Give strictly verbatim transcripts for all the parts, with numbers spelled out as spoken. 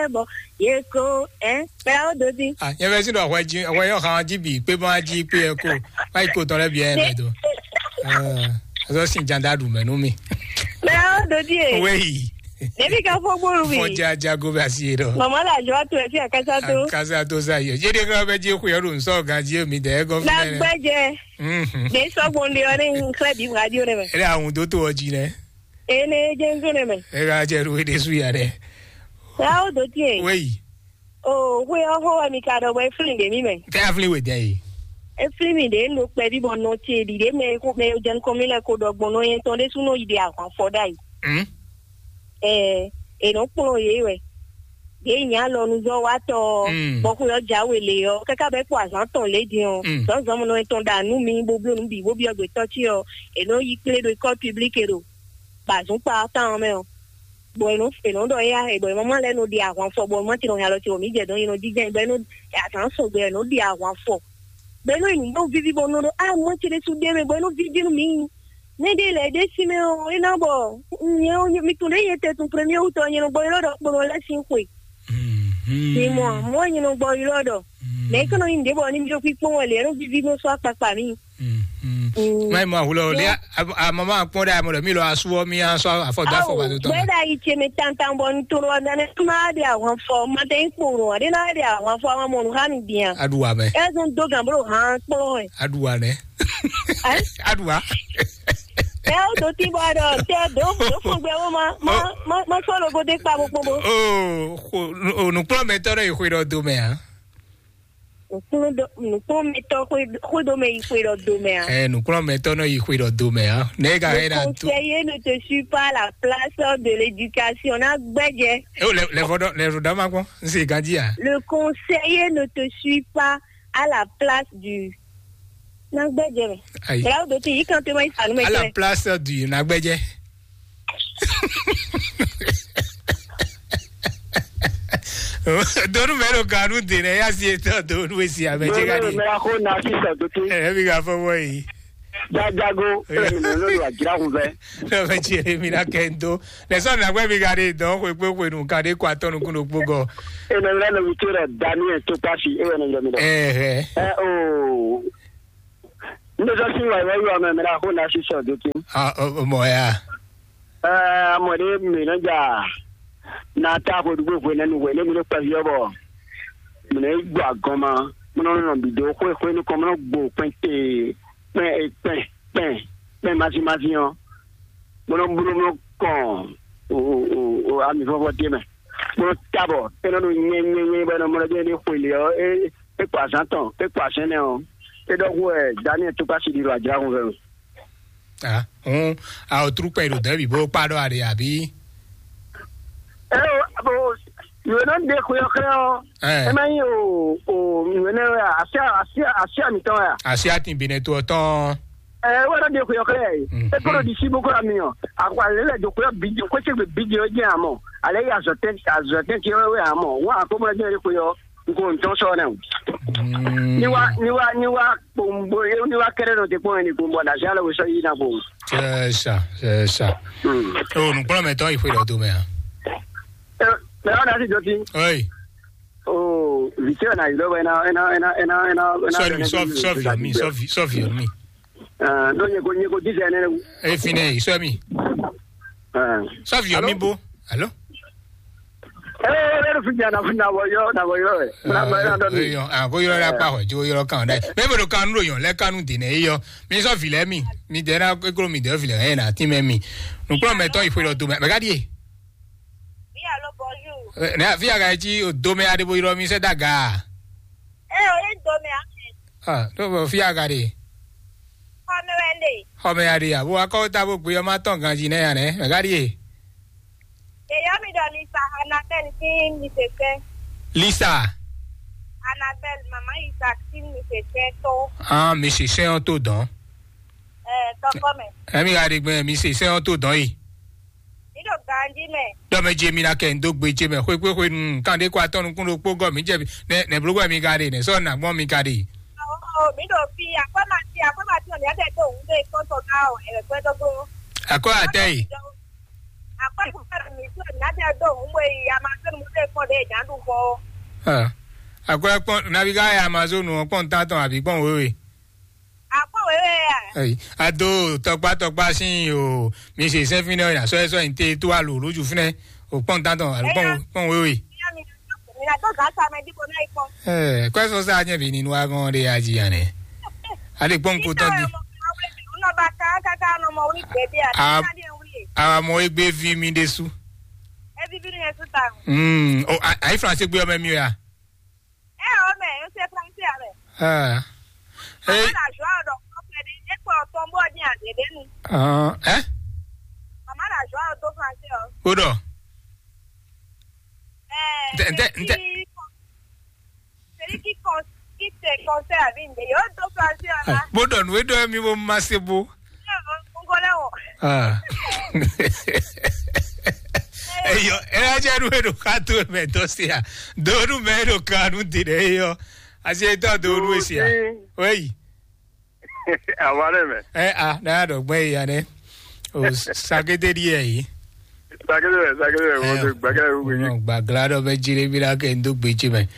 Bɔ ye ko, ɛ, kpɛɖa wo do dín. Ah, nyɛ vɛ sín ɖɔ hwɛ jí, hwɛ yɔ han jí bǐ kpé bɔn jí kpé ɛ ko, má yi ko tɔn lɛ bǐ ɛ mɛ do. Ɛ, azɔ sin janda ɖu mɛ nú mi. Kpɛɖa wo do dín e. Wéyi. Ɖevi ka fɔ gbólu mi. Fɔ ja jago bɛ asi yé dɔ. Mama la jɔ to ɛ fi akasa to. Akasa to sa yɔ. Yé de kan bɛ jí xuyɔ ɖo nsɔ gan jí mi dɛ gɔ fi Na nɛ. Gbɛjɛ. Mhm. Ne sɔgbɔn de ɔ ne n xlɛ bi radio ne mɛ. Ele ahun do to ɔ jí nɛ. Ene jɛ n to ne mɛ. Ele ajɛ ɖo ede su ya dɛ. Kpɛɖa wo do dín e. Wéyi. O, xwe ɔ́ xó wɛ mi ka ɖɔ bɔ é flín ɖě mì mɛ. Kɛ aflin we dɛ yi. É flín mì ɖě un ɖo kpɛví bɔ nɔ ce ɖi ɖě mɛ e xó mɛ e jɛ nukɔn mì lɛ́ɛ ko ɖɔ gbɔn nɔ nyɛ tɔn ɖésú nɔ yi ɖe ahwan fɔ ɖ'ayǐ. Hmm. Ɛɛ, è nɔ kplɔ́n yě wɛ. Yě nyi alɔnuzɔ́watɔ ɔ́, Mm. bɔ xwe ɔ́ jǎwe lě ɔ́, káká bɔ é kpo azǎn tɔn lě din ɔ́, Mm. zɔ̌nzɔ́n nɔ tɔn ɖa nú mi bó bló nǔ bǐ bó byɔ́ gbětɔ́ ce ɔ́, è nɔ yi kplé ɖo école publique ɖo bazǔnkpa ɔ́ tán ɔ́ mɛ ɔ́. Bɔ è nɔ è nɔ ɖɔ éyá è bɔ è mama lɛ́ɛ nɔ ɖi ahwan fɔ bɔ mɔ ce nɔ hɛn alɔ ce bɔ mǐ jɛ dɔn è nɔ jínjɛ́n bɔ è nɔ azǎn sɔgbe è nɔ ɖi ahwan fɔ bɔ è nɔ yi nǔ bɔ víví bɔ nɔ ɖɔ a mɔ ce ɖésú ɖe mɛ bɔ è nɔ víví nú mǐ. Mɛ ɖé lɛ́ɛ ɖé sí mɛ ɔ́ é ná bɔ nyɛ ɔ́ mi tún ɖé nyɛ tɛ tún premier wútɔ nyɛ nɔ gbɔ ylɔ́ ɖɔ kponɔ lɛ́ sín xwe. Mi mɔ mɔ nyɛ nɔ gbɔ ylɔ́ ɖɔ mɛ é kɔnɔ nyi nǔɖé bɔ ní mi ɖo kpíkpɔ́n wɛ lě é nɔ víví nɔ sɔ́ akpakpa mì. Má mɔ ahulɔ lé amama kpɔn ɖe amɔ ɖe mi lɔ asu ɔ mi asɔ afɔ do afɔ ba do tɔn. Gbɛda yi tse mi tantan bɔ n toro ɔdane ma de ahwan fɔ ma tɛ n kporo ɔdɛ na de ahwan fɔ ma mɔ nu ha mi dian. Aɖu wa mɛ. Ɛzun do gan bolo han kpɔn ɛ. Aɖu wa nɛ. Aɖu wa. Ɛ o do ti bɔ dɔ tɛ do do fɔgbɛ wo ma ma ma ma sɔ logo de kpa bo kpɔn bo. O nukplɔmɛtɔ ɖe yi xwe ɖɔ do mɛ a. Nukplɔ́nmɛtɔ́ xwedó mɛ yi xwe ɖɔ do mɛ a? Ɛ nukplɔ́nmɛtɔ nɔ yi xwe ɖɔ do mɛ a? Ne ka Le hɛn na to. Conseiller ne te suit pas la place de l'éducation na gbɛjɛ. E o lɛ lɛ fɔ dɔ lɛ fɔ dɔ ma kpɔn n se ganji a. Le conseiller ne te suit pas à la place du na gbɛjɛ mɛ. Ayi. Bla o do ti yi kan te ma yi sanu mɛ. À la place du na gbɛjɛ. Donu mɛ ɖo ganu de nɛ ya si etɔ donu esi ame dze ka di. Mɛ ko na si sɔ dote. Ɛ mi ka fɔ wɔ yi. Jajago. Ɛlɛ mi nɔ lɔ ajira kun fɛ. Lɔ fɛ tsi ɛ mi na kɛ n do. Lɛ sɔ na gbɛ mi ka de dɔn xwe kpe xwe nu ka de kɔ atɔ nukun ɖo kpo gɔ. Ɛ nɔ mi lɛ nɔ mi to lɛ Daniel to pasi e wɛ nɔ yɔ mi lɛ. Ɛhɛ. Ɛ o. N bɛ sɔ sin wa wɛ yɔ mɛ mɛ la ko na si sɔ do tin. Ah, o o mɔ ya. Ɛɛ mɔ ɖe mi nɔ dza na ta ko dugbo hwe nɛ nu hwe ne mi ɖo kpɛvi ɔ́ bɔ mi nɔ yi gbɔ agɔn ma mo nɔ nɔ bi do xwe xwe nukɔn mo nɔ gbo kpɛn te kpɛn kpɛn kpɛn kpɛn mazi mazi ɔ́ mo nɔ blo mo nɔ kɔn o o o o ami vɔvɔ te mɛ mo nɔ tabɔ e nɔ ɖo nyɛ nyɛ nyɛ bɔ e nɔ mɔ ɖɔ ne xwe le ɔ́ e e kpa azán tɔn e kpa azán nɛ ɔ́ e ɖɔ xo ɛ Daniel tukpa si ɖi ɖo ajra xo fɛ. Ah, un a o tru kpɛ ɖo dɛbi bó kpa ɖɔ aɖe abi. Ɛ o abo yòó nɔ ɖe xwe ɔ́ xlɛ́ ɔ́. Ɛ. Ɛ má nyí o o yòó nɛ wɛ asi asi asi ami tɔn wɛ. Asi atin bi ne to tɔn. Ɛ wɛ nɔ ɖe xwe ɔ́ xlɛ́ yɛ. Mhm. E kolo ɖi si bó kolo ami ɔ akɔ ale lɛ do xwe ɔ́ bi di xwe segbe bi di ɔ́ jɛ amɔ ale yi azɔtɛn azɔtɛn ti wɛ amɔ wa akɔmɔ jɛ ɖe xwe ɔ́. Nko ntɔn sɔ nɛ o. Ni wa ni wa ni wa kpombo ni wa kɛrɛ nɔ te kpɔn ni kpombo na sia lɛ wo sɔ yi na kpo. C'est ça, c'est ça. O nukplɔmɛtɔ yi xwe dɔ do mɛ a. Mɛ wa na si jɔ ti. Oi. O visi na yi lɔ bɛ na na na na na na. Sɔ mi sɔ sɔ vi mi sɔ vi sɔ vi mi. Ɛɛ, donc, nyɛ ko, nyɛ ko disɛ ne. E fi nɛ, sɔ mi. Ɛɛ. Sɔ vi mi bo. Alo. Ɛɛ, ɛɛ, ɛɛ, fi nya na fi na wɔ yɔ, na wɔ yɔ, ɛ. Na wɔ yɔ, na dɔ mi. Yɔ, a ko yɔ la pa hɔ, jo yɔ kan dɛ. Mɛ bo do kanu do yɔ, lɛ kanu di nɛ yɔ. Mi sɔ vi lɛ mi. Mi dɛ na eklo mi dɛ vi lɛ, ɛ na ti mɛ mi. Nukplɔmɛtɔ yi xwe lɔ do mɛ. Mɛ ka di e? Oui, allô, bonjour. Ɛ, ne fi aga ti o do mɛ a de bo yɔ mi sɛ daga. Ɛ, o ye do mɛ a. Ah, ɖó vɔ fí aga ɖe. Xɔmɛ wɛ ɖe. Xɔmɛ ya ɖe ya, bó wá kɔ́ tá bó gbé ɔmá tɔn ganjí nɛ́ ya nɛ́, mɛ ká ɖíe. Ɖe yɔ mi ɖɔ Lisa Anabel sín mi se sɛn. Lisa. Anabel mama Isaac sín mi se sɛn tó. Ah, mi se sɛn ɔ́ tó dɔn. Ɛ, tɔkɔ mɛ. Ɛmi ka ɖe gbɛn mi se sɛn ɔ́ tó dɔn yi. Mi ɖo ganjí mɛ. Ɖɔ mɛ je mi na kɛ ndo gbe je mɛ xwekwe xwe nu kan ɖe kɔ atɔn nukun ɖokpo gɔ mi jɛ nɛ nɛ blogɔ mi ka ɖe nɛ sɔ na gbɔn mi ka ɖe. Ɔɔ, mi ɖo fi akɔma ti akɔma ti ɔn mi ade to wu de kɔntɔ ka ɔ ɛrɛ kpɛ dɔgbo. Akɔ atɛ yi. Akpɔ́ ìfúnpá mi tó ìyá tɛ dó òun mɔ èyí Amazon mú tẹ kpɔ́n ɖé ìjà ń ɖu fɔ ó. Ah, akwɛ́ kpɔ́n nabi ká yɛ Amazon ɔ́ kpɔ́n tántɔn àbí kpɔ́n wéwe? Akpɔ́n wéwe yà. Ɛyi, ado tɔkpá tɔkpá sín o, mi se sɛ́n fínɛ́ ɔ́, sɔ́ ɛ sɔ́ ɛ ní té tó alo lójú fínɛ́, o kpɔ́n tántɔn alo kpɔ́n Ɛyá. Kpɔ́n wéwe. Ìyá mi, mi nà tó gǎ sa mɛ dípò náà ikpɔ́n. Ɛ, kwɛ́ sɔ́ sá nyɛ bǐ nínú agɔn ɖé ají anɛ. Ale kpɔ́n kó tɔn di. Nɔ ba ká káká nɔ mɔ wí gbɛdé a. Ká dé wí. Awa mɔ egbe vi mi ɖésú. Evi bí ni yẹn tún ta. Hmm, o, a, ayi France gbé ɔmɛ mi o ya. Ɛ o mɛ, o se France a mɛ. Ah. Mama Hey, na joie dɔ kɔfɛ de, e kpɔ tɔn bɔ di a de de nu. Ah, eh? Mama na joie do France o. Gbọ́dọ̀. Ɛ, Ntɛ, ntɛ, ntɛ. Celui qui con-, qui te conseille à vie, yo do France o la. Gbọ́dọ̀ nù é dɔ mi bó ma se bó. Ngolɛ o. Ah. Eyo, era jẹ nu edo ka to mɛ dɔ se a. Do nu mɛ edo ka nu di de eyo. Asi etɔ do nu esi a. Oui. Awa ɖe mɛ. Ɛ a, na ɖɔ gbɛ yi ya nɛ. O sakete di yɛ yi. Sakete mɛ, sakete mɛ, mo de gbɛkɛ wu yi. Gbagla ɖɔ bɛ jire bi la kɛ ndo gbe ce mɛ.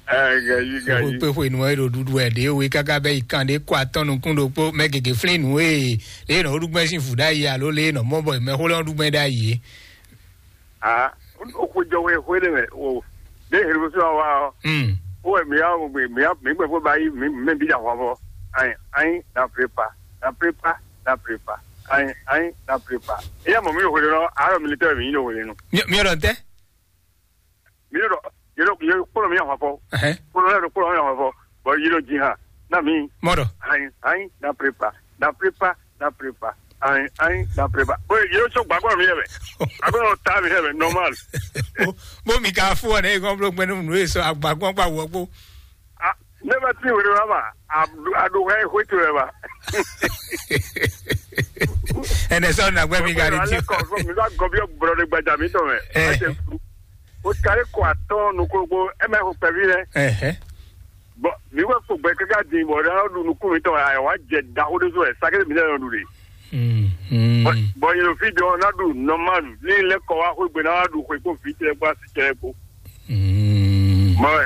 Ɛ, gayi, gayi. Kpe xwe nu e ɖo ɖuɖu wɛ ɖe we kaka bɛ yi kan ɖe kɔ atɔn nukun ɖokpo mɛ gege flin nu e le nɔ ɖu gbɛ sin fu ɖa yi alo le nɔ mɔ bɔ mɛ xo lɛ ɖu gbɛ ɖa yi. Ah, o xwe jɔ we xwe ɖe mɛ o. De helu so wa o. Hmm. O wɛ mi ya o mi ya mi gbɛ fo ba yi mi mi bi da hwa fɔ. Ayi, ayi, na prepa, na prepa, na prepa. Ayi, ayi, na prepa. E ya mɔ mi yo xwe ɖe nɔ, aro militaire mi yo xwe ɖe nɔ. Mi mi ɖɔ tɛ. Mi ɖɔ, yɛ ɖɔ yɛ kplɔ mi ahwa fɔ. Ɛhɛn. Kplɔ yɛ ɖɔ kplɔ mi ahwa fɔ. Bɔ yɛ ɖɔ ji ha. Na mi. Mɔ ɖɔ. Ayi, ayi, na prepa, na prepa, na prepa. Ayi, ayi, na prepa. Bɔ yɛ ɖɔ sɔ gbàgbọ́ mi yɛ bɛ. Agbɛ nɔ ta mi yɛ bɛ normal. Bó mi ka fún ọ ní ẹ̀gbọ́n bló gbẹ́nu nù èso àgbàgbọ́n gbà wọ́ gbó. Ah, ne bɛ ti wele wa ma. A do hɛ hwe to yɛ ba. Ɛnɛ sɔ na gbɛ mi ka di ti. Ale kɔ fún mi bá gɔbi brɔ de gbajà mi tɔ mɛ. Ɛ. Ɛ tɛ furu. O kari kɔ atɔn nukogbo ɛ mɛ ko pɛvi lɛ. Ɛhɛ. Bɔn mi wɛ kpo gbɛ kaka di bɔ ɖe ɔdu nukun mi tɔ ɛ wa jɛ da o de so ɛ sakele mi lɛ yɔ du de. Mm, mm. Bɔn yɛlɛ fi dɔ na du nɔmalu ni lɛ kɔ wa xwe gbe na wa du xwe kpo fi tɛ kpo asi tɛ kpo. Mm. Mɔ wɛ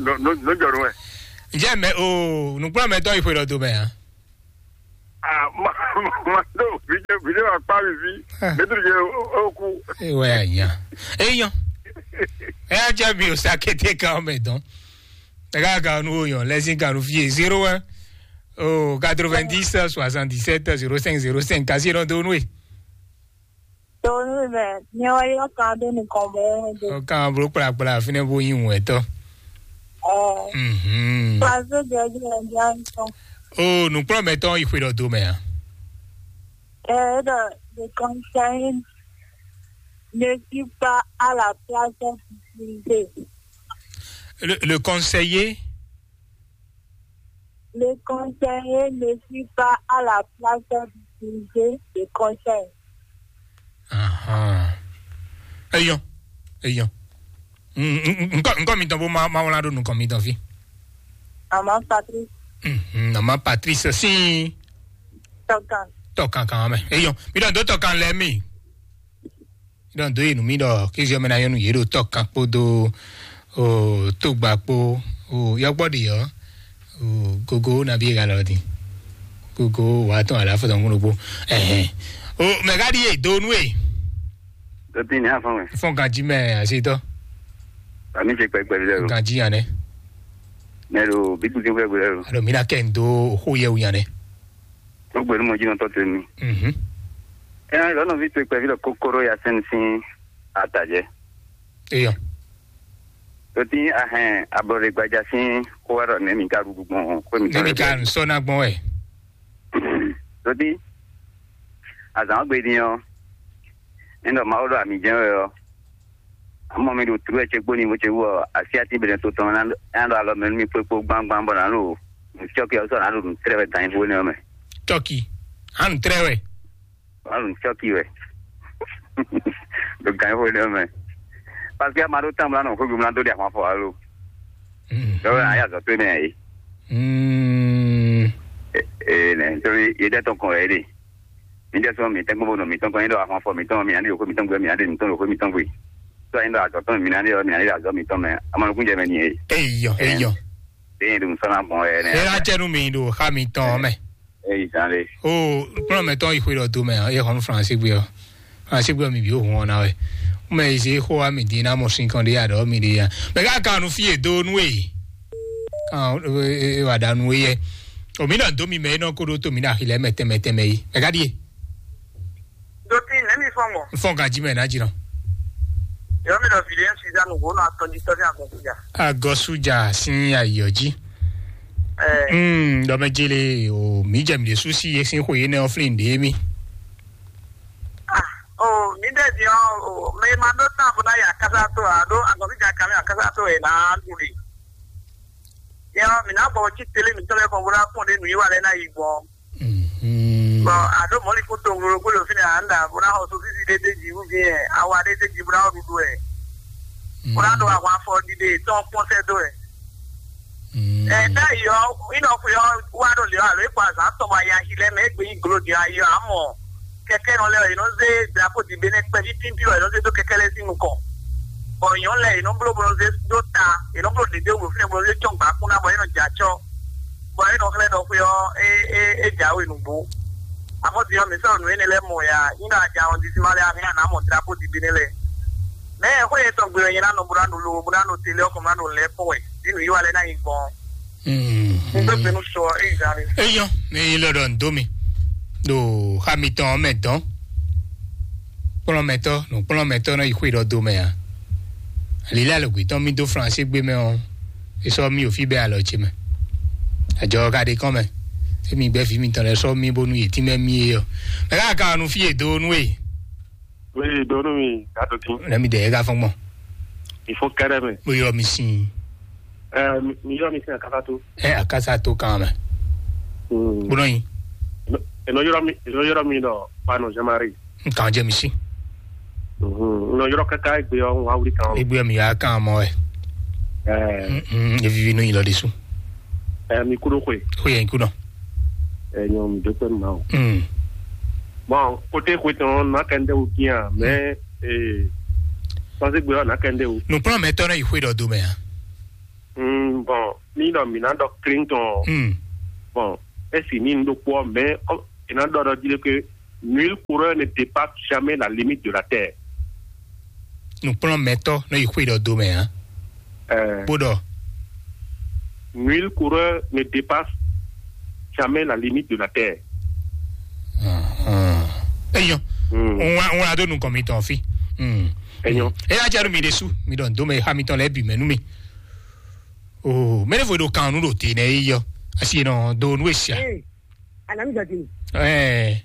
no no no jɔ nu wɛ. Ǹjẹ́ mɛ o nùgbọ́n mẹ́tọ́ ìpè lọ́dún mẹ́ hàn? Ah, ma ma do video video akpa mi fi. Ah. Mẹtiri je oku. Ewa ya nya. Eyan. Ẹ á jẹ́ mi ò sàkété kan ọmọ ẹ̀dán. Ẹ ká kan nu oyàn lẹ́sìn kan nu fi zéro un oh quatre-vingt-dix soixante-dix-sept zéro cinq zéro cinq kasi lọ tó nú ẹ. Tòun mɛ ní wọ́n yọ kan dé nìkan bẹ́ẹ̀ dé. Ọkàn àbúrò kpàlàkpàlà fínẹ́ bó yín wọ̀n ẹ̀tọ́. Ẹ̀ Mhm. Pàṣẹ jẹ́jú ẹ̀jẹ̀ àìsàn. O nùkúrọ̀ mẹ́tọ́ ìpè lọ dó mẹ́ à. Ẹ̀ ẹ̀ dọ̀ the concern ne suis pas à la place utilisée. Le, le conseiller Le conseiller ne suit pas à la place d'utiliser le conseil. Ahan. Eyɔn. Eyɔn. Nkɔ nkɔ mi tɔn bó ma ma wla ɖo nukɔn mi tɔn fi. Maman Patrice. Mhm, maman Patrice si. Tɔkan. Tɔkan kan mɛ. Eyɔn. Mi dɔn do tɔkan lɛ mi. Ɖɔn dó yi nǔ mì ɖɔ kéziɔ mɛ ná nyɔ́ nú yě ɖo tɔ́ kan kpódó o tógba kpó o yɔkpɔ́ ɖi ɔ́ o gogo nabí e galɔ din gogo wàá tɔn àlàáfíà tɔn kún ɖokpó. Ɛhɛn. O mɛ ká ɖi e do nú e. Dɔtí ní afɔn mɛ. Fɔn ganjí mɛ àṣetɔ. Àmì ṣe pẹpẹ bí lẹ́rù. Ganjí yan nɛ. Mẹ ɖo bí kùtì fẹ́ gbé lẹ́rù. Alo mi na kɛ n do xó yɛ wu yan nɛ. Tó gbé ní mo jí nɔ tɔ́ tó mi. Mhm. Ɛ lɔnà vi tó kpɛvi lɔ kókóró ya sɛn sín atajɛ. Eyɔ. Tó tí ahɛn ablɔɖe gbaja sín kó wá ɖɔ nɛ mi ka ɖuɖu gbɔn kó mi Ne mi ka nsɔ na gbɔn wɛ. Tó tí azan gbe din ɔ. Ɛnɔ Mawu ɖo ami jɛ́n wɛ ɔ. Amɔ mi ɖo tlú wɛ ce kpó ni bó ce wú ɔ, asi atín bɛnɛ to tɔn ná ɖo alɔ mɛ nú mi kpékpó gbangban bɔ nǎ ɖo nǔ cyɔ́ kɛ ɔ́ sɔ́ nǎ ɖo nǔ tlɛ́ wɛ gan nyi bó nɛ́ ɔ́ mɛ. Cɔki. Hanu trɛ wɛ. Wǎ ɖo nǔ cyɔ́ kɛ wɛ. Ɖo gan nyi bó nɛ́ ɔ́ mɛ. Parce que ama ɖó tán bla nɔ xwégbé mla dó ɖi ahwan fɔ alo. Dɔwɛ ayé azɔ tó nɛ yìí. Mm. Ee nɛ nítorí yé dɛ tɔn kɔn wɛ yé ɖe. Mi jɛ sɔn mi tɛn gbɔn bo nɔ mi tɔn kɔn nyi ɖɔ afɔnfɔ mi tɔn mi ani yoko mi tɔn gbe mi ani mi tɔn yoko mi tɔn gbe. Sɔ nyi ɖɔ azɔ tɔn mi ani yɔ mi ani azɔ mi tɔn mɛ. Amanu kun jɛ mɛ ni e. Eyɔ, eyɔ. De yin dun sɔn na bɔn ɛ nɛ. Ela cɛ nu mi ɖo xa mi tɔn mɛ. Eyi zan le. O kplɔn mɛ tɔn yi xwe ɖɔ do mɛ e hɔn France gbe ɔ. France gbe ɔ mi bi o hun ɔna wɛ. Mɛ yi se xo wa mi di na mɔ sin kan de ya ɖɔ mi de ya. Mɛ ka kan nu fi e do nu e. Kan e wa da nu e yɛ. O mi na do mi mɛ e nɔ ko ɖo to mi na xilɛ mɛ tɛmɛ tɛmɛ yi. Mɛ ka die. Doti nɛmi fɔn mɔ. Fɔn ka ji mɛ na ji nɔ. Yɔ mi dɔ video si da nugo na tɔn ji tɔn ni agbɔn kuja. Agɔ suja sin ayɔ ji. Eh. Hmm, dɔ mɛ jele o mi jɛ mi de susi ye sin xo ye nɛ oflin de mi. Ah, o mi de di o o me ma do tan bo na ya kasa to a do agɔ mi ja kame a kasa to e na luli. Yɔ mi na bɔ ci tele mi tɔlɛ kɔn bo na kɔn de nu yi wa lɛ na yi gbɔn. Mhm. Bɔn a ɖo mɔ̌likún tonglo ɖokpó ɖo fínɛ́ ǎ, un ɖo bó ná xɔ sosísi ɖé d'é jí wú dín ɛ, awa ɖé d'é jí bó ná xɔ ɖuɖu ɛ, bó ná ɖo ahwan afɔ ɖiɖe tɔn kpɔ́n sɛ́ dó ɛ. Mhm. Ɛ ɖ'ayǐ ɔ́, ínɔxwe ɔ́ wá ɖo lě ɔ́, alo é kɔ azǎn tɔn bɔ aya axi lɛ́ɛ mɛ, é gbe nyí glo din ayi ɔ́, amɔ kɛkɛ́nɔ lɛ́ɛ ɔ́, yě nɔ zé drapo ɖi Benɛ́ kpɛví tíntín ɔ́, yě nɔ zé dó kɛkɛ́ lɛ́ɛ sín nukɔn, bɔ nyɔ̌nu lɛ́ɛ yě nɔ bló bó nɔ zé dó ta, yě nɔ bló ɖěɖé wǔ fínɛ́ bó nɔ zé cɔ́n gbǎkún ná, bɔ é nɔ jɛ acɔ́. Bɔ é nɔ xlɛ́ ɖɔ xwé ɔ́, é é é jǎwe nǔgbó. Amɔ̌ din ɔ́, mǐ sɔ́ nǔ énɛ́ lɛ́ɛ mɔ ya, nyí ɖɔ a ja wɔn disi ma lɛ́ɛ a hɛn a nǎ mɔ drapo ɖi Benɛ́ lɛ́ɛ. Mɛ̌ xwé yětɔn gbe wɛ nyɛ ná nɔ bó ná ɖo lo bó ná ɖo télé ɔ́ kɔn bó ná ɖo lɛ̌ kpɔ́n wɛ, ɖí nǔ yi wa lɛ́ɛ ná nyi gbɔn. Mm, Un gbé mm. Gbe nú sɔ é yi zan mi. Eyɔn, mi lɔ ɖɔ ndo mi ɖo xa mitɔn mɛ dɔn. Kplɔ́nmɛtɔ́, nǔkplɔ́nmɛtɔ́ nɔ yi xwé ɖɔ do mɛ ǎ. Lǐlá lɔ̌gbé tɔn mì dó Flansé gbé mɛ ɔ́, é sɔ́ mì ɖo fí bɛ́ alɔ ce mɛ. Ajɔ ɔ́ ka ɖe kɔn mɛ. Émi gbɛ́ vǐ mitɔn lɛ́ɛ sɔ́ mì bónú yě tínmɛ mì é ɔ́. Mɛ ká ka nu fí e dó nú e. Oui, dó nú mi, gado dín. Lɛ mi dɛ é ka fɔn gbɔn. Il faut kɛrɛ mɛ. Mo yɔ mi sin. Ɛ, mi yɔ mi sin akasa tó. Ɛ akasa tó kan mɛ. Hmm. Gbɔdɔ yin. Eno yɔrɔ mi, eno yɔrɔ mi dɔ, Pano Jean-Marie. Nkan jɛ mi si. Mhm. Nɔ yɔrɔ kaka egbe ɔ ŋun awuli kan. Egbe mi ya kan mɔ ɛ. Ɛɛ. Mm, evivi nu yi lɔ de su. Ɛɛ, mi kudo xwe. Xwe yɛn kunɔ. Ɛɛ, nyɔ mi do kpɛ ma o. Mm. Bon, kote xwe tɔn na kɛnde o kiyan, mais ee, sanse gbe ɔ na kɛnde o. Nukplɔn mɛ tɔ ne yi xwe dɔ do mɛ a. Mm, bon, mi dɔ mi na dɔ clean tɔn. Mm. Bon, esi mi n do kpɔ, mais ɔ, e na dɔ dɔ di ke nul coureur ne dépasse jamais la limite de la terre. Nukplɔn mɛ tɔ ne yi xwe dɔ do mɛ a. Ɛɛ. Kpóɖɔ. Nul coureur ne dépasse jamais la limite de la terre. Eyɔn. Ŋun ŋun ado nukɔn mi tɔn fi. Eyɔn. Eya jɛ nu mi de su mi dɔn do mɛ ha mi tɔn lɛ bi mɛ nu mi. Oh, mɛ ne fo do kan nu do te ne yi yɔ. Asi nɔ do nu esia. Anamizɔdini. Ɛɛ.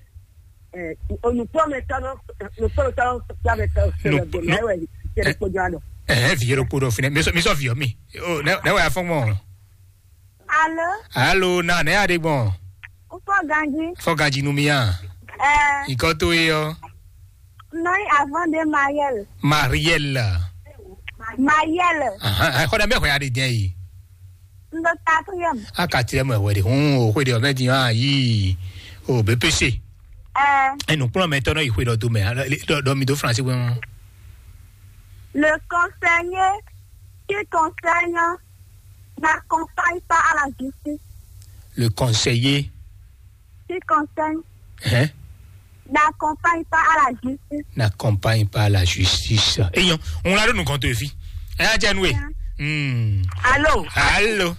Onukpɔmɛtɔ nɔ onukpɔmɛtɔ nɔ flamɛtɔ sɛlɛ gbɛmɛ wɛ sɛlɛ kpɔjɔ alɔ. Ɛɛ, vi yɛrɛ kpo dɔ finɛ mi sɔ mi sɔ vi yɔ mi. O ne ne wɛ afɔ mɔ. Alo. Alo, na ne ya de gbɔn. Ufɔ ganji. Fɔ ganji nu mi ya. Ɛɛ. Ikɔ to ye yɔ. Nɔyi avant de Mariel. Mariel. Mariel. Aha, xɔ dɛ mɛ xɔ ya de jɛ yi. N ɖo quatrième. A quatrième wɛ de hun o xwe de ɔmɛ di hã yi o B P C. Ɛɛ. Enu kplɔn mɛ tɔ nɔ yi xwe dɔ do mɛ dɔ mi do France wɛ. Le conseiller qui concerne n'accompagne pas à la justice. Le conseiller. Qui concerne. Hein? N'accompagne pas à la justice. N'accompagne pas à la justice. Eyɔn, on l'a donné compte de vie. Ɛ jẹ́ nu e. Hmm. Allô. Allô.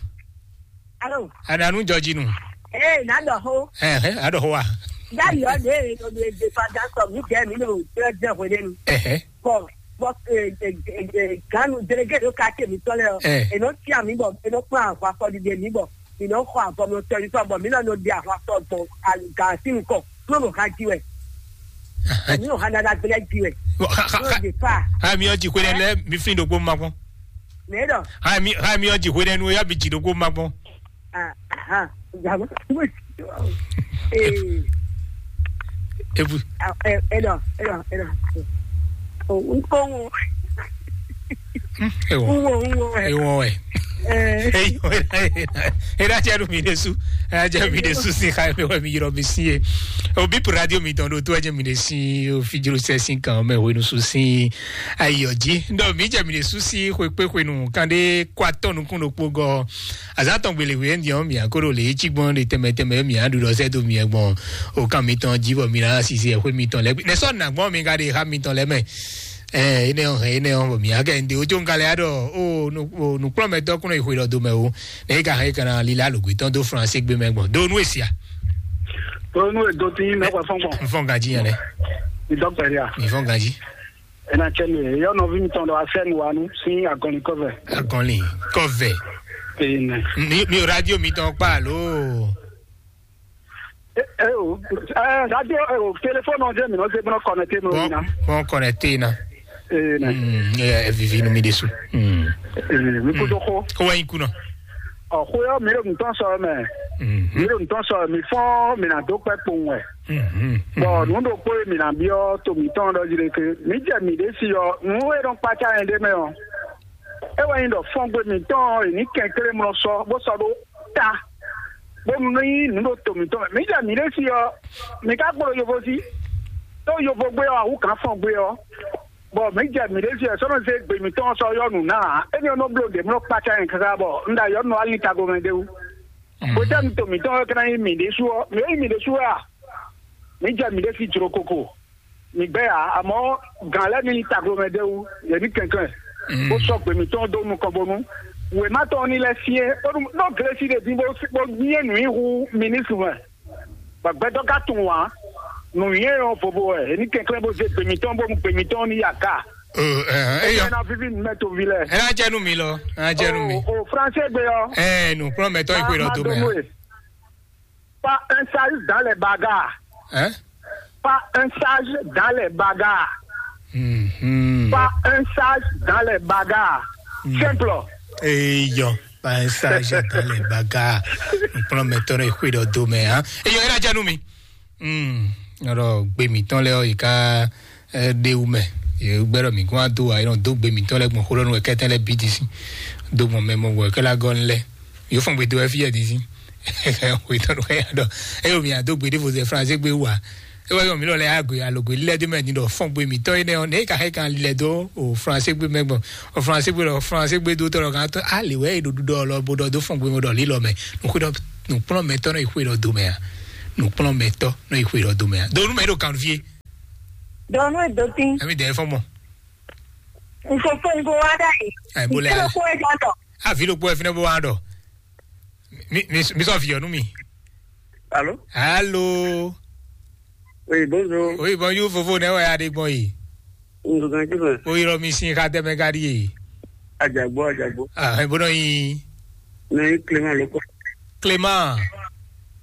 Allô. Ananu jɔji nu. Ee, na dɔ ho. Ɛhɛ, adɔ ho wa. Dayɔ de no de de fa da sɔ mi jɛ mi no tɛ jɛ ho de nu. Ɛhɛ. Bɔn bɔn ganu delege do ka te mi tɔ lɛ ɔ. Ɛ. Eno tia mi bɔ eno kpa ahwa fɔ dide mi bɔ mi nɔ xɔ avɔ mi tɔ yi tɔ bɔ mi nɔ no di ahwa fɔ bɔ gan si nukɔ. Kúrò ló ká jí wɛ. Èmi ò hàn dáadáa gbélé jí wɛ. Kúrò lè fà. Ha mi ɔdzi xwe nɛ lɛ mi fi ɖokpo ma kpɔn. Mɛ dɔ. Ha mi ha mi ɔdzi xwe nɛ nu ya bi dzi ɖokpo ma kpɔn. Aha. Jàmọ́. Ee. Ebu. Ẹ dọ ẹ dọ ẹ dọ. O n kó wọn. Ewo. N wo n wo ẹ. Ewo ẹ. Eyi, e ɖa jɛ nu mi ɖe su, e ɖa jɛ mi ɖe su si xa mi wɛ mi yrɔ mi si ye. O bip radio mi tɔn ɖo to ɛjɛ mi ɖe si o fi jlo sɛ si kan mɛ hwenu su si ayɔ ji. Ndɔ mi jɛ mi ɖe su si xwe kpe xwenu kan ɖe kɔ atɔ nukun ɖokpo gɔ. Azan tɔn gbele hwe ndi ɔ mi akoro le etsi gbɔn ɖe tɛmɛ tɛmɛ mi aɖu ɖɔ sɛ do mi gbɔn o kan mi tɔn ji bɔ mi na sisi ɛxwe mi tɔn lɛ ne sɔ na gbɔn mi ka ɖe ha mi tɔn lɛ mɛ. Ɛ ene ɔ hɛn ene ɔ bɔ mi akɛ ndi o jo nka lɛ aɖɔ o nu o nukplɔmɛtɔ kúnɔ yi xwe ɖɔ do mɛ o ne e ka hɛn e kana lila alogbe tɔn do France gbe mɛ gbɔn do nu esia. Onu edo ti mɛ kɔ fɔn gbɔn. N fɔn ganji yɛn lɛ. Idɔkpɛria. Mi fɔn ganji. Ena cɛ mi yɔ nɔvi mi tɔn dɔ asɛn wa nu si agɔnli kɔvɛ. Agɔnli kɔvɛ. Ene. Mi mi radio mi tɔn kpa alo. Eh, eh, oh, eh, radio, eh, oh, téléphone, on dirait, mais non, c'est bon, connecté, mais oui, non. Bon, connecté, non. Eh, non. Hmm, eh, eh, vivi, nous, mi dessous. Hmm. Eh, mi kudo ko. Ko wa yin kuna. Oh, ko yo, mi lo mi ton so, mais. Hmm. Mi lo mi ton so, mi fo, mi na do pe pon, ouais. Hmm. Bon, nous, donc, pour mi na bio, to mi ton, donc, je dirais que, mi dirait, mi décide, nous, et donc, pas qu'à un demain, hein. E wɛ nyí ɖɔ fɔngbe mǐtɔn ɔ́, è nǐ kɛnklɛ́n mlɔ sɔ, bó sɔ́ ɖó ta, bónú ní nyí nǔ ɖo to mǐtɔn mɛ. Mǐ jɛ mǐ ɖésú ɔ́, mǐ ka kpo ɖo yovo jí, ɖó yovo gbé ɔ́, awǔ gǎn fɔngbe ɔ́, bɔ mǐ jɛ mǐ ɖésú ɔ́, sɔ́ nɔ zé gbe mǐtɔn ɔ́ sɔ́ yɔ nǔ ná ǎ. Énɛ́ ɔ́ nɔ bló ɖě mlɔ́ kpácá nyɛ káká, bɔ un ɖo ayɔ̌ nɔ alin tago mɛ ɖé wú. Hwetɛ́nu to mǐtɔn ɔ́ ka ná nyí mǐ ɖésú ɔ́, mǐ é nyí mǐ ɖésú wɛ a? Mǐ jɛ mǐ ɖésú jló koko. Mi gbɛ ya, àmọ́ gǎn lɛ́ɛ ní taglomɛ ɖé wú, yě ní kɛnklɛ́n, bó sɔ́ gbě mǐtɔn dó nukɔn bónú wěma tɔn ní lɛ́ syɛ́n, bónú nɔ Glesi ɖe dín bó bó nyí nǔ nyi hú minísitri mɛ, bɔ gbɛtɔ́ ka tunwun ǎ. Nǔnywɛ́ ɔ́ vovo wɛ, yě ní kɛnklɛ́n bó zé gbě mǐtɔn bónú gbě mǐtɔn ní ya ga. Ɔ, ɛ, ɛ, eyɔ. Ena vivi mɛ to vi lɛ. Ena jɛ nu mi lɔ, ena jɛ nu mi. O, o français gbe ɔ. Ɛ, nukplɔnmɛtɔ yi xwe lɔ do mɛ. Pas un sage dans les bagarres. Hein? Pas un sage dans les bagarres. Mhm. Pas un sage dans les bagarres. Simple. Eyɔ, pas un sage dans les bagarres. Nukplɔnmɛtɔ yi xwe lɔ do mɛ, hein? Eyɔ, ena jɛ nu mi. Hmm, ɔlɔ gbe mǐtɔn lɛ ɔ yi ka ɛ ɖe wu mɛ. Yě gbɛɖɔ mǐ kún wá dó wa, yě nɔ dó gbe mǐtɔn lɛ gbɔn xó lɔ nú wɛ kɛtɛn lɛ bí dín sín. Dó gbɔn mɛ mɔ wɛ kɛ la gɔ́ lɛ. Yǒ fɔn gbe dó wɛ fí yɛ dín sín. Wetɔn ɖo ya ɖɔ. Eye mi adó gbe ɖěvo zɛ français gbe wa. E wɛ yɔ mi lɔ lɛ agbe alogbe lɛ dé mɛ ni ɖɔ fɔn gbe mǐtɔn yi nɛ ɔ ne ka hɛ kan lɛ dó o français gbe mɛ gbɔn. O français gbe lɔ français gbe dó tɔ lɔ kan tɔ ali wɛ e ɖo ɖuɖɔ lɔ bo ɖɔ dó fɔn gbe mɔ ɖɔ lilɔ mɛ. Nukplɔnmɛtɔ́ nɔ yi xwe ɖɔ do mɛ a? Nukplɔnmɛtɔ́ nɔ yi xwe ɖɔ do mɛ a? Donu mɛ ɖo kanvie. Donu e do tin. Emi dɛ fɔ mɔ. Nfofo ngo wa da yi. Ɛ, bo lɛ. Kí ló kó ẹ jọ tọ? Avi ɖokpó ɛ fi ne bo wa ɖɔ. Mi mi mi sɔ fi ɔnu mi. Allô? Allô. Oui, bonjour. Oui, bonjour, fofo ne wɛ aɖe gbɔn yi. Ndugan jumɛn? O yɔrɔ mi sin xa tɛmɛ ka ɖi ye. Ajagbo, ajagbo. Ah, ebo nɔ yi. Ne Clément Loko. Clément.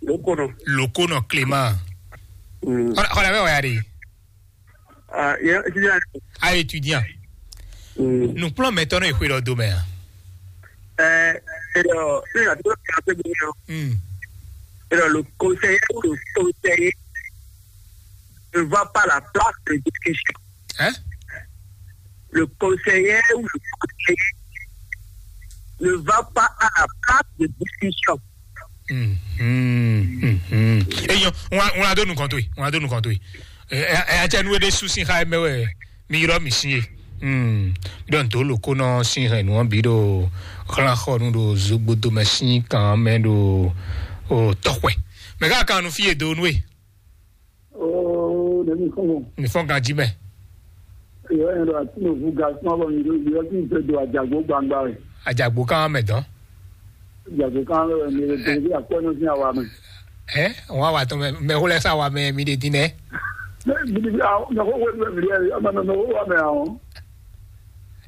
Loko nɔ. Loko nɔ Clément. Mm. Xɔlɛ bɛ wɛ ya ɖi. Ah, yɛ étudiant. Ah, étudiant. Mm. Nukplɔnmɛtɔ nɔ yi xwe ɖɔ do mɛ a? Eh, et alors, c'est la deuxième question. Mm. Et alors, le conseiller ou le conseiller ne va pas à la place de discussion. Hein? Le conseiller ou le conseiller ne va pas à la place de discussion. Mhm, mhm. Eyo, ŋun ŋun ado nukɔn to yi, ŋun ado nukɔn to yi. Ɛ ɛ ɛ atsɛ nu ɖe su sin xa mɛ wɛ mi yrɔ mi sin ye. Hmm. Dɔn to lo ko nɔ sin hɛn nu bi ɖo xlán xɔ nu ɖo zogbodo mɛ sin kan mɛ ɖo o tɔxwɛ. Mɛ ká kan nu fi ye do nu e. Oo, ɖe mi fɔn mɔ. Mi fɔn ganji mɛ. Yɔ yɛn ɖo ati no vu ga sɔn bɔ mi ɖo yɔ ti fɛ do ajagbo gbangba wɛ. Ajagbo kan mɛ dɔn. Ajagbo kan mɛ wɛ mi ɖo tɛnɛ bi akpɔ nɔ sin awa mɛ. Ɛ, wọn awa tɔn mɛ mɛ xó lɛ sa wa mɛ mi ɖe din nɛ. Mɛ mi ɖe bi awo mɛ xó wɛ mɛ mi ɖe yɛ mɛ mɛ xó wa mɛ awo.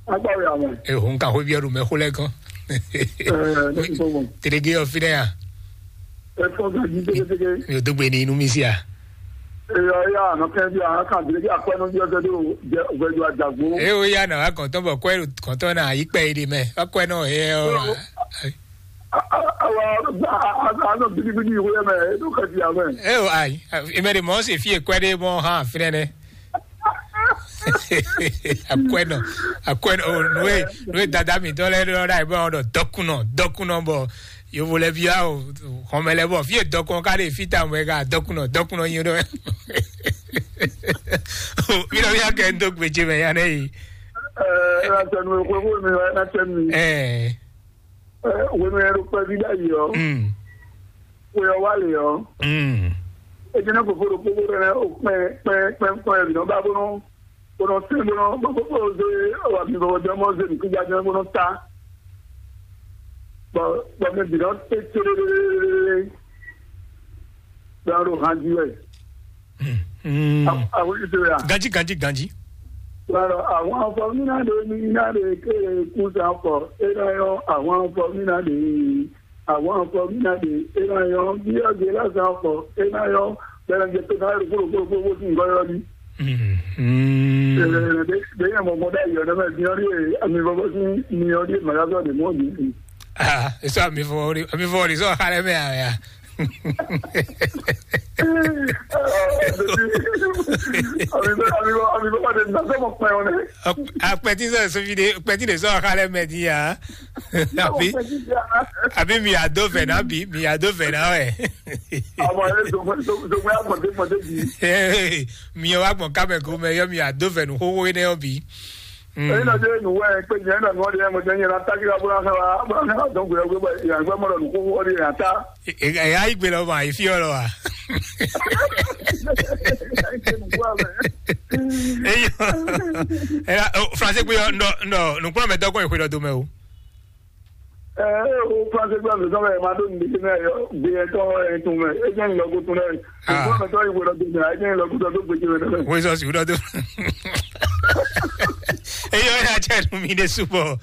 Akpa wɛ awo. E ho nka xó bi ɔdu mɛ xó lɛ gɔn. Ɛ, ne mi fɔn mɔ. Tedege yɔ fi ɖe ya. Efɔn ka jí tégétégé. Mi ò dó gbe ní inú mi sí à. Eyɔ ya nɔ kɛ bi a kan tégétégé akpɛ nɔ bi ɔtɛ do jɛ ògbɛjɔ àjàgbó. Eye o ya nà wá kɔ̀ntɔn bọ̀ kọ́ kɔ̀ntɔn náà yí kpẹ́ yìí di mẹ́ wá kọ́ náà ẹ ẹ ọ. Awa a nɔ bidibidi ìwé yẹn mɛ e nɔ kɛ bi a mɛ. Ẹ o ayi, ìmẹ̀ de mọ̀ ọ́ sì fi èkó ẹ dé mọ́ hàn fínẹ́ dẹ́. Akwɛnɔ, akwɛnɔ, o, nue, nue dada mi dɔ lɛ dɔ da bɔ dɔ dɔkunɔ, dɔkunɔ bɔ yovo lɛ bia o, xɔmɛ lɛ bɔ fie dɔkun ka de fita mɔ ka dɔkunɔ, dɔkunɔ nyi dɔ. Mi dɔ bia kɛ ndo gbeje mɛ ya ne yi. Eh, na tɛ nu ko ko mi na tɛ mi. Eh. Eh, we mi ro pɛ bi da yi o. Mm. We o wa le o. Mm. E jena ko fo ko ko ne o pɛ pɛ pɛ pɛ bi no ba bo no. Bó nɔ sɛn bó nɔ bó bó bó zé wà mí bó jẹ́ mọ́ zé nìkúnjá jẹ́ bó nɔ ta. Bɔ bɔ mi bǐ nɔ tɛ télélélélélé. Bẹ́ẹ̀ ló hàn jí wẹ̀. Àwọn ìṣe rẹ̀ à. Ganji, ganji, ganji. Lọ́rọ̀ àwọn afọ mi náà lè mi náà lè ké kú sí afọ. E náà yọ àwọn afọ mi náà lè. Àwọn afọ mi náà lè. E náà yọ bí ọ̀gẹ̀ lásán afọ. E náà yọ bẹ́ẹ̀ lọ́jọ́ tó náà rò kúrò kúrò kúrò kúrò sí nǹkan yọ ni. Bẹ́ẹ̀ mọ̀ mọ́ dá ìyọ̀ náà bí wọ́n rí àmì bọ́bọ́ sí ni wọ́n rí màgá sọ̀rọ̀ mọ́ mi. Ah, eso a mi fɔ ori, a mi fɔ ori so xalɛ mɛ a ya. Àmì bọ́ àmì bọ́ àmì bọ́ pàdé nà sọ́mọ pẹ́ wọn. Akpɛti sɔ so fi de, akpɛti de so xalɛ mɛ di ya. Abi, abi mi ado fɛ na bi, mi ado fɛ na wɛ. Àwọn ẹ̀rẹ́ ìjọba ìjọba àgbọ̀dé mọ̀dé yìí. Mi wa gbɔn kamɛ ko mɛ yɔ mi ado fɛ nu xoxo ne yɔ bi. Èyí náà jẹ́ ìnùwẹ́ pé yẹn náà ni wọ́n di ẹ̀mọ́ jẹ́ yẹn náà tákìlá bó náà wá bó náà dán gbé ọgbẹ́ bá yàn gbẹ́ mọ́lọ̀ nù kó wọ́n di yàn tá. Ẹ̀yà ìgbé lọ mà ìfí ọ̀rọ̀ wa. Eyɔ, ɛla, o, français gbé yɔ, ndɔ, ndɔ, nukplɔn mɛ dɔgɔn ìhwe dɔ domɛ o. Ɛ, o français gbé mi sɔn mɛ ma ɖo nin ɖe mɛ yɔ gbé yɛ tɔ ɛ tun mɛ e jɛ nin lɔgo tun lɛ. Ah. Nukplɔn mɛ tɔ yi wɛrɛ do mɛ e jɛ nin lɔgo tɔ do gbé jɛ mɛ. Wezɔ si wúdɔ do. Eyɔ ya jɛ nu mi de subɔ.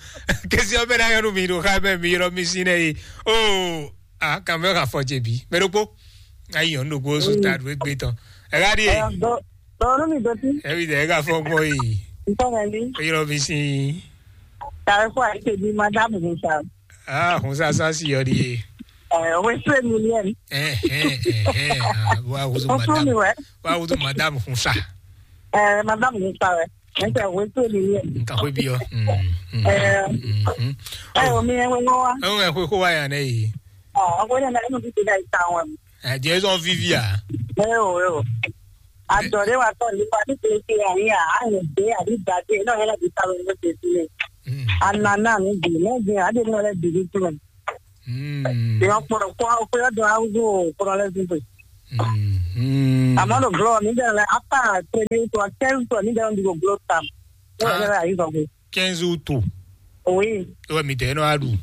Kesi ɔbɛ na yɔ nu mi do xa bɛ mi yɔrɔ mi si nɛ yi. O, a kan bɛ ka fɔ jɛ bi. Mɛ ɖokpo. Ayi yɔn ɖokpo su ta ɖo egbe tɔn. Ɛga di. Dɔɔnu mi dɔti. Ɛbi dɛ ɛga fɔ gbɔ yi. Ntɔmɛ mi. Eyɔrɔ mi si. Tàbí fún àyíké bí madame Musa. Ah, Hunsa sa si yɔ di ye. Ɛ, o ye sue millième. Ɛ ɛ ɛ ɛ. Wa wuzu madame. Wa wuzu madame Hunsa. Ɛ, madame Musa wɛ. Ɛ tɛ o ye sue millième. Nka ko bi yɔ. Ɛ, ɛ o mi ɛ wɛ wa. Ɛ wɛ ko ko wa ya ne yi. Ɔ, o ko ne na enu bi ti da ita wɛ. Ɛ, jɛ zɔn vivi a. Ɛ o ɛ o. Adɔre wa tɔ nipa ní kele kele ayi a, a yɛ de a bi da de, n'o yɛlɛ bi ta lo ne de si le. Anana ni bi, ne bi a de n'o lɛ bi ni tu. Ìwọ kpɔ̀rọ̀ kpɔ̀rọ̀ kpɔ̀rọ̀ dɔn awúgbò kpɔ̀rọ̀ lɛ dúgbò. Àmọ́ ló glɔ mi dẹ̀ lɛ apa tẹ̀lé tó a tẹ́lú tó mi dẹ̀ lọ́n dúgbò glɔ tam. Ó yẹ lẹ́rẹ́ àyíkọ̀ gbé. Quinze août. Oui. Ó wẹ̀ mi tẹ̀ ẹ́ náà á dùn.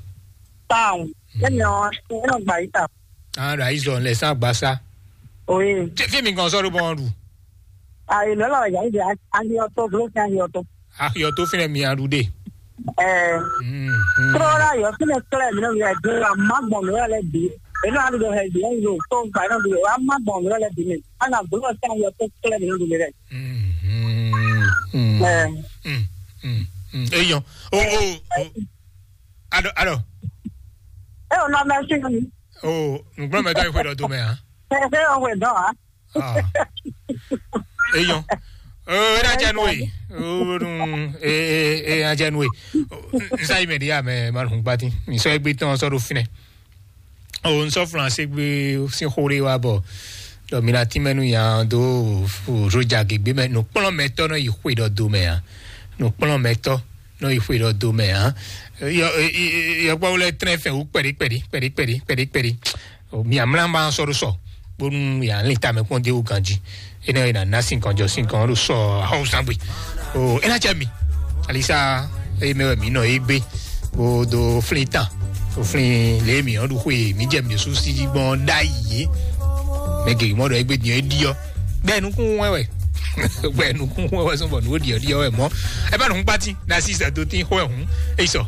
Táwọn. Lẹ́mi ọ̀ ẹ́ náà gbà yí ta. Àwọn àdó àyíṣọ́ ńlẹ̀ sá gba sá. Oui. Ṣé fíìmù kan sọ́dún bọ́n dùn? Àyè lọ́lọ́ ìyá ìdí àyè ọ̀tọ̀ gló sí àyè ọ̀tọ̀. Àyè ọ̀tọ̀ fínẹ̀ mi àdúdé. Ẹ̀. Kúrò láyọ̀ fínẹ̀ kílẹ̀ mi náà yẹ dúró àmọ́ gbọ̀n mi rẹ̀ lẹ́ bí. Èmi náà lọ hẹ̀ bí ẹ̀yìn lò tó gbà náà dúró àmọ́ gbọ̀n mi rẹ̀ lẹ́ bí mi. Àná gbọ́dọ̀ sí àyè ọ̀tọ̀ kílẹ̀ mi náà dúró rẹ̀. Ẹ̀. Eyɔn. O o o. Alo alo. Ẹ ò nọ mẹ sí mi. O nùgbọ́n mẹ́ta ìwé lọ tó mẹ́ hàn. Ẹ ẹ ò wẹ̀ dán a. Eyɔn. O ẹ náà jẹ́ nu e. O nu e e e náà jẹ́ nu e. Nsa yi mɛ di ya mɛ ma lùn gbati. Nsọ egbe tán sọ ɖo finɛ. O nsɔ flanse gbe sin xore wa bɔ. Dɔ mi na ti mɛ nu yan do roja gegbe mɛ nukplɔn mɛ tɔ nɔ yi xwe dɔ do mɛ ya. Nukplɔn mɛ tɔ nɔ yi xwe dɔ do mɛ ya. Yɔ yɔ kpɔ wlɛ trɛn fɛ wu kpɛdi kpɛdi kpɛdi kpɛdi kpɛdi kpɛdi. Mi amla ma sɔ do sɔ. Bonu ya lin ta mɛ kpɔn de wu ganji. Ena ena na sin kan jɔ sin kan do sɔ aho sangbe. O ena cɛ mi. Alisa eye mɛ wɛ mi nɔ ye gbe. Bo do flin tan. O flin le mi ɔn do xwe mi jɛ mi su si gbɔn da yi. Mɛ gege mɔ dɔ egbe diɛ diɔ. Gbɛ nukun wɛ wɛ. Gbɛ nukun wɛ wɛ sɔn bɔ nu diɔ diɔ wɛ mɔ. Eba nu kpati na si sa do tin xɔ ɛ hun. Eyi sɔ.